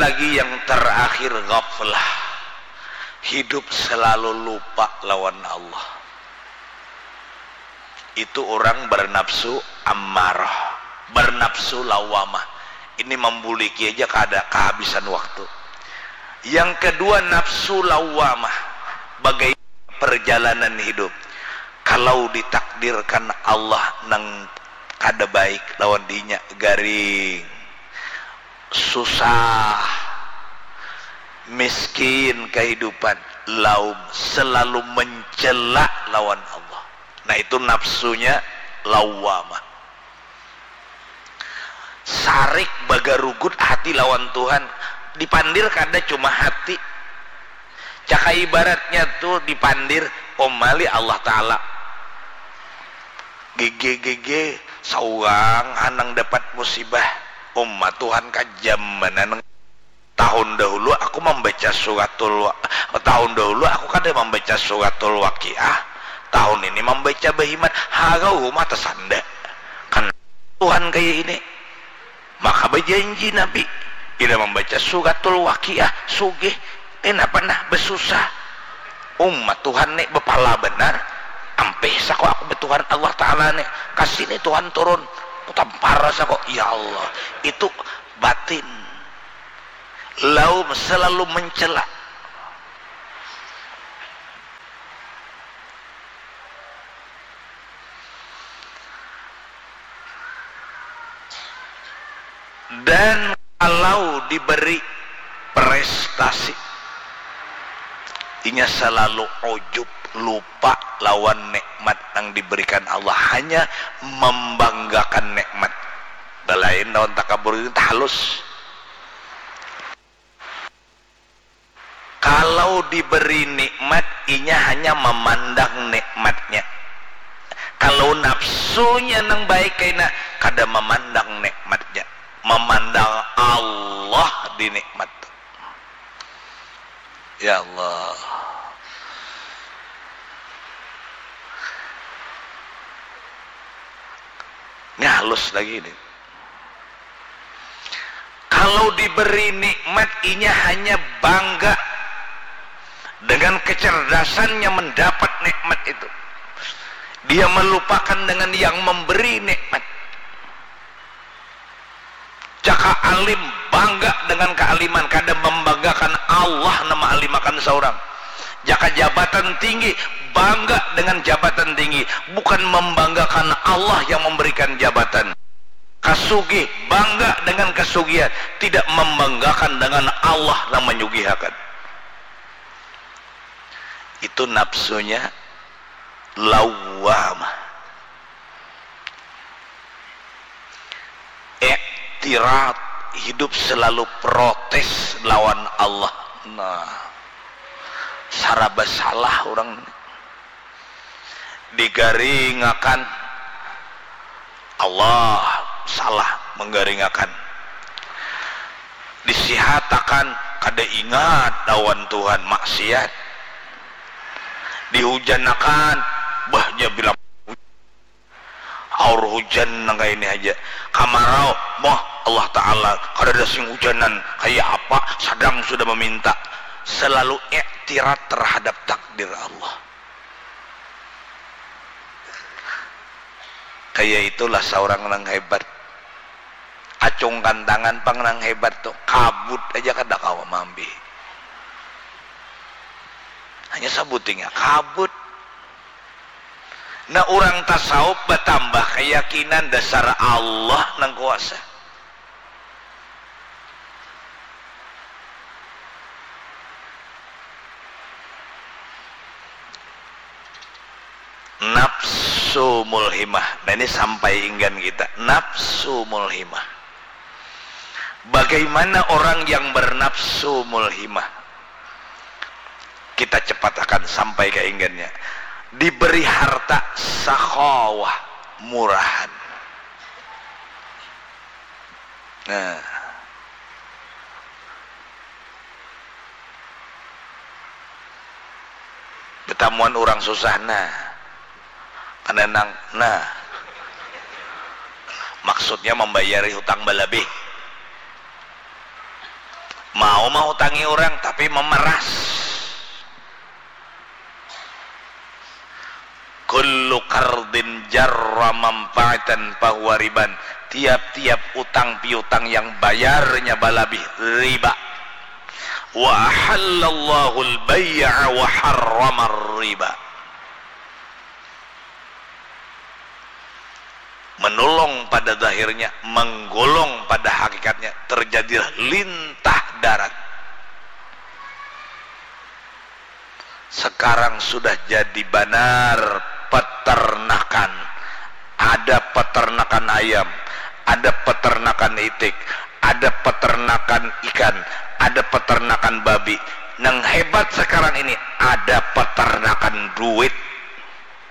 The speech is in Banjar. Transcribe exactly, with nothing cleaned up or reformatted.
Lagi yang terakhir, ghaflah. Hidup selalu lupa lawan Allah. Itu orang bernafsu ammarah, bernafsu lawamah. Ini membuliki aja kada kehabisan waktu. Yang kedua, nafsu lawamah. Bagai perjalanan hidup. Kalau ditakdirkan Allah nang kada baik lawan dinya, garing, susah, miskin kehidupan, laum, selalu mencela lawan Allah. Nah, itu nafsunya lawamah. Sarik bagarugut hati lawan Tuhan. Dipandir kada cuma hati. Caka ibaratnya tu dipandir, umali Allah Ta'ala. Gege, gege, saurang hanang dapat musibah. Umma Tuhan kajam banar nang Tahun dahulu aku mambaca suratul wa-, tahun dahulu aku kada mambaca suratul Waqiah, tahun ini mambaca bahimat, harau rumah tasanda. Kan Tuhan kaya ini. Maka bajanji Nabi, bila mambaca suratul Waqiah, sugih, kena panah, basusah. Umat Tuhan ni bapala banar, ampih sako aku ba Tuhan Allah Ta'ala ni, kasi ni Tuhan turun, kutampar sako, ya Allah, itu batin. Laum selalu mencela. Dan kalau diberi prestasi, inya selalu ujub, lupa lawan nikmat yang diberikan Allah, hanya membanggakan nikmat. Balain lawan takabur ini tahalus. Kalau diberi nikmat, inya hanya memandang nikmatnya. Kalau nafsunya nang baik kaina, kada memandang nikmatnya, memandang Allah di nikmat tu. Ya Allah. Ini halus lagi ini. Kalau diberi nikmat, inya hanya bangga dengan kecerdasannya mendapat nikmat itu. Dia melupakan dengan yang memberi nikmat. Jaka alim, bangga dengan kealiman, kada membanggakan Allah nang maalimakan saurang. Jaka jabatan tinggi, bangga dengan jabatan tinggi, bukan membanggakan Allah yang memberikan jabatan. Kasugih, bangga dengan kasugihan, tidak membanggakan dengan Allah nang manyugihakan. Itu nafsunya lawwamah. Iktirad, hidup selalu protes lawan Allah. Nah, saraba salah urang ni. Digaringakan, Allah salah menggaringakan. Disihatakan, kada ingat lawan Tuhan, maksiat. Dihujanakan, bah, jar bilang aur hujan nang kaya ini haja. Kamarau, moh, Allah Ta'ala, kadada sing hujanan, kaya apa, sadang sudah meminta. Selalu iktirad terhadap takdir Allah. Kaya itulah saurang nang hebat. Acungkan tangan pang nang hebat tu, kabut aja kada kawa maambihi. Hanya sabutingnya kabut. Nah, urang tasawuf batambah kayakinan dasar Allah nang kuasa. Nafsu mulhimah. Nah, ini sampai inggan kita. Nafsu mulhimah. Bagaimana orang yang bernafsu mulhimah? Kita cepat akan sampai ke inggannya. Diberi harta sakhawah, murahan. Nah. Betamuan urang susah, nah. Kada nang, nah. Maksudnya mambayari hutang balabih. Mau mahutangi orang tapi memeras. Kullu qardin jarra manfaatan fahuwa riban. Tiap-tiap utang piutang yang bayarnya balabih riba. Wa ahallallahu al-bay'a wa harramar riba. Menolong pada zahirnya, menggolong pada hakikatnya, terjadilah lintah darat. Sekarang sudah jadi banar peternakan. Ada peternakan ayam, ada peternakan itik, ada peternakan ikan, ada peternakan babi. Nang hebat sekarang ini ada peternakan duit.